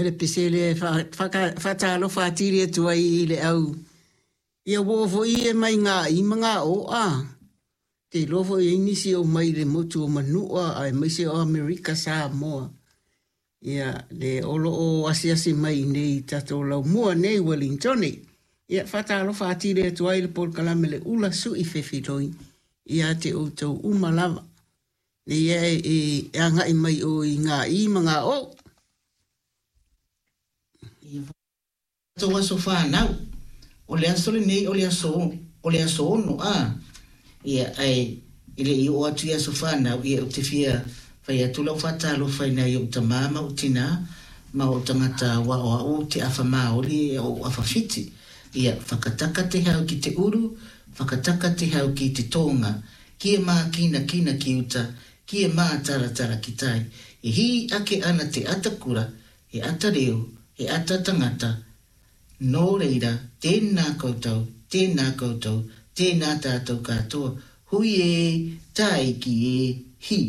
le pese lea e faatalofa atili atu ai i le au. Ia ua oo foi e mai gaii ma gaoa. Ou te iloa foi e i ai nisi o mai le motu o Manua aemaise o Amerika Samoa. Ia, le o lo o asiasi mai i inei i tatou laumua nei i Uelintone. Ia, faatalofa atili atu ai le polokalame Le Ula Sui Fefiloi ia te outou uma lava. Nei e, e agai mai o i gaii ma gaoa. Ia. Tou aso fanau. O le aso lenei o le aso o le aso ono a. Ia ae e le i oo atu i aso fanau ia ou te fia fai atu lau faatalofa i nai ou tamā ma ou tinā ma ou tagata aua o au ou te afa maoli e ou afa fiti. Ia whakataka te hau ki te uru, whakataka te hau ki te tōnga, ki e mākinakina ki uta, ki e mātaratara ki tai. E hī ake ana te atakura, he ata reo, he ata tangata, nō reira, tēnā koutou, tēnā koutou, tēnā tātou katoa, hui ē, tāiki ē, hi!